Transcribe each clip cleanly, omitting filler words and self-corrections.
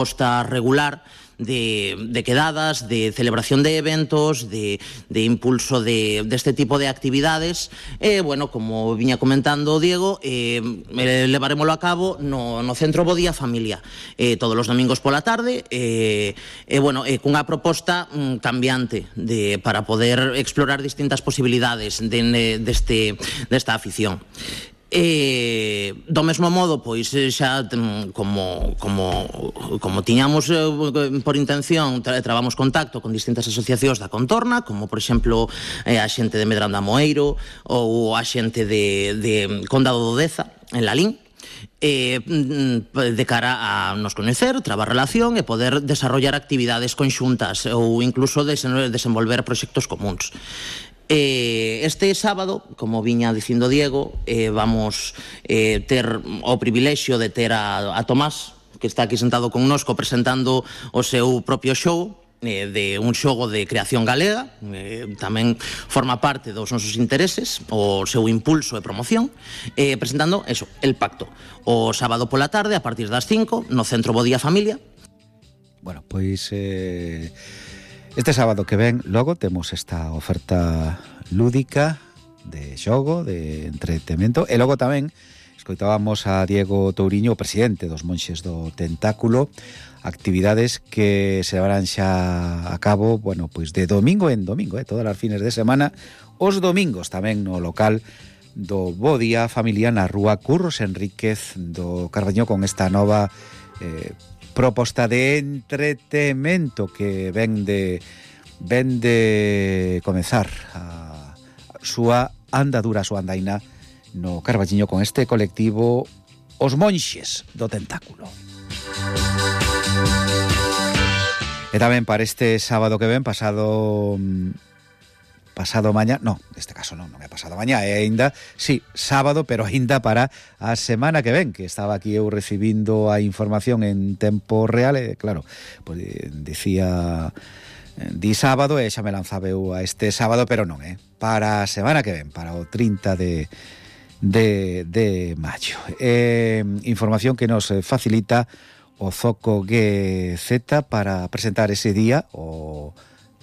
proposta regular de quedadas, de celebración de eventos, de impulso deste tipo de actividades. Bueno, como viña comentando Diego, levaremoslo a cabo no Centro Bo Día Familia, todos os domingos pola tarde, bueno, cunha proposta cambiante para poder explorar distintas posibilidades desta afición. Do mesmo modo, pois xa como tiñamos por intención, trabamos contacto con distintas asociacións da contorna, como por exemplo a xente de Medrán de Amoeiro ou a xente de Condado do Deza, en Lalín, de cara a nos coñecer, trabar relación e poder desarrollar actividades conxuntas ou incluso desenvolver proxectos comuns. Este sábado, como viña dicindo Diego, vamos ter o privilexio de ter a Tomás, que está aquí sentado connosco presentando o seu propio show, de un xogo de creación galega, tamén forma parte dos nosos intereses, o seu impulso e promoción, presentando eso, El Pacto, o sábado pola tarde a partir das 5 no Centro Bo Día Familia. Bueno, pois este sábado que ven logo temos esta oferta lúdica de xogo, de entretenimento, e logo tamén escoitábamos a Diego Touriño, o presidente dos Monxes do Tentáculo, actividades que se levarán xa a cabo, bueno, pois de domingo en domingo, todas as fines de semana, os domingos tamén no local do Bo Día Familia na rúa Curros Enríquez do Carballiño, con esta nova proposta de entretemento que ven de comezar a súa andadura, a súa andaina no Carballiño con este colectivo Os Monxes do Tentáculo. E tamén para este sábado que ven, pasado mañá, neste caso non é pasado mañá, é aínda, sí, sábado, pero aínda para a semana que ven, que estaba aquí eu recibindo a información en tempo real, e claro, pois dicía di sábado e xa me lanzaba eu a este sábado, pero non, para a semana que ven, para o 30 de maio. Información que nos facilita o Zoco GZ para presentar ese día, o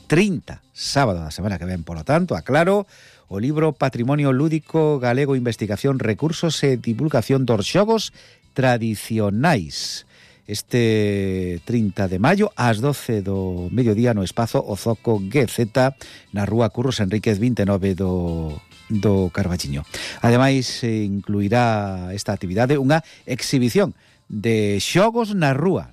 30, sábado da semana que ven, polo tanto, aclaro, o libro Patrimonio Lúdico Galego, Investigación, Recursos e Divulgación dos Xogos Tradicionais. Este 30 de maio, ás 12 do mediodía, no espazo O Zoco GZ, na rúa Curros Enríquez 29 do Carballiño. Ademais, incluirá esta actividade unha exhibición de xogos na rúa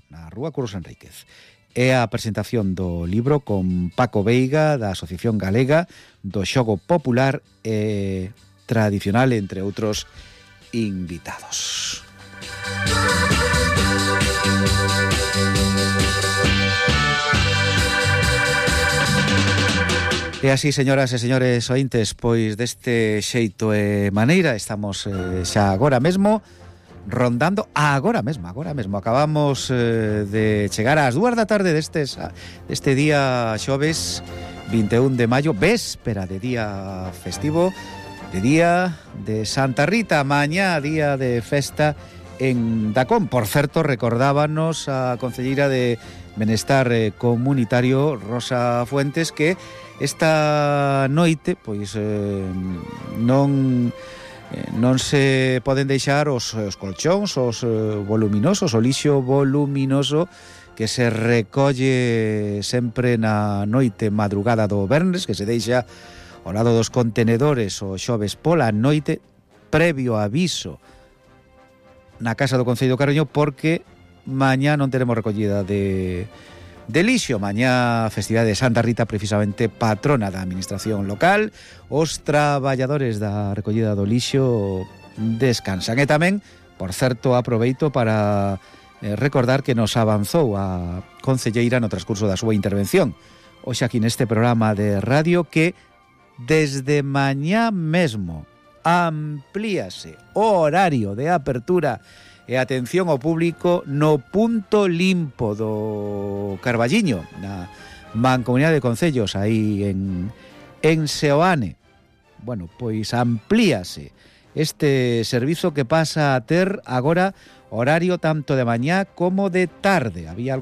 Curros Enríquez. É a presentación do libro con Paco Veiga, da Asociación Galega do Xogo Popular e Tradicional, entre outros invitados. E así, señoras e señores ointes, pois deste xeito e maneira estamos xa agora mesmo rondando agora mesmo. Acabamos de chegar ás 2 da tarde deste día xoves 21 de maio, véspera de día festivo, de día de Santa Rita, mañá día de festa en Dacón. Por certo, recordábanos a concelleira de Benestar Comunitario, Rosa Fuentes, que esta noite pois non se poden deixar os colchóns, os voluminosos, o lixo voluminoso que se recolle sempre na noite madrugada do venres, que se deixa ao lado dos contenedores o xoves pola noite, previo aviso na Casa do Concello do Carballiño, porque mañá non teremos recollida de lixo. Mañá, festividade de Santa Rita, precisamente patrona da administración local. Os traballadores da recollida do lixo descansan. E tamén, por certo, aproveito para recordar que nos avanzou a concelleira no transcurso da súa intervención hoxe aquí neste programa de radio, que desde mañá mesmo amplíase o horario de apertura e atención ao público no punto limpo do Carballiño, na Mancomunidade de Concellos, aí en Seoane. Bueno, pois amplíase este servizo, que pasa a ter agora horario tanto de mañá como de tarde. Había